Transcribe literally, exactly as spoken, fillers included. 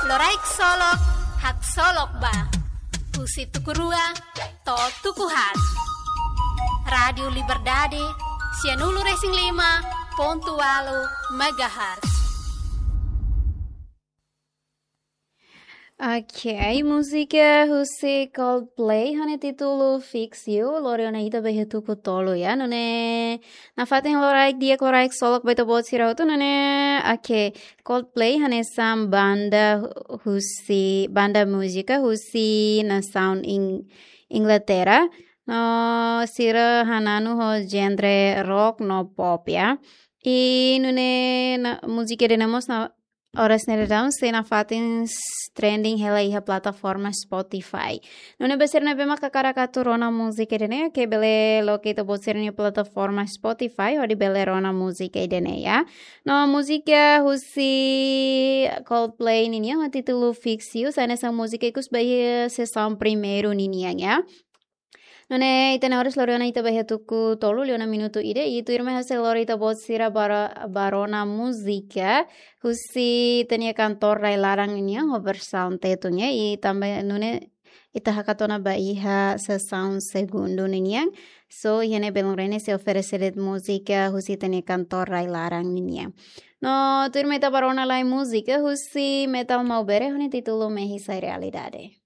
Loraik Solok, haksolok ba. Husi tuku rua to'o tuku haat. Rádiu Liberdade, sianulu-resin-lima pontu ualu megahertz. Ok, múzika husi Coldplay ho nia títulu Fix You, lori ona ita ba iha tuku tolu ya. Nune'e nafatin loraik di'ak, loraik solok ba ita-boot sira hotu, nune'e, ok, Coldplay hanesan banda husi, banda múzika husi nasaun Ing-, Inglaterra. No sira hananu ho genre rock no pop ya. I nune'e na, múzika ida-ne'e mós na oras ne'e daudaun sei nafatin s-, trending hela iha plataforma Spotify. Nune'e ba sira ne'ebé mak hakarak atu rona múzika ida-ne'e, ke bele loke ita-boot sira-nia plataforma Spotify hodi bele rona múzika ida-ne'e ya. No múzika husi Coldplay ninian ho títulu Fix You, sai hanesan múzika ikus ba iha sesaun primeiru ninian ya. Nune'e ita-nia oras lori ona ita ba iha tuku tolu liu ona minutu ida, i tuirmai ha'u sei lori ita-boot sira ba ro-, ba rona múzika husi ita-nia kantór rai-laran ninian ho versaun Tetun ya, i tanba nune'e ita hakat ona ba iha sesaun segundu ninian. So, iha ne'e belun rene sei oferese de'it múzika husi ita-nia kantór rai-laran ninian. No tuirmai ita ba rona lai múzika husi Metal Maubere ho nia títulu Mehi Sai Realidade.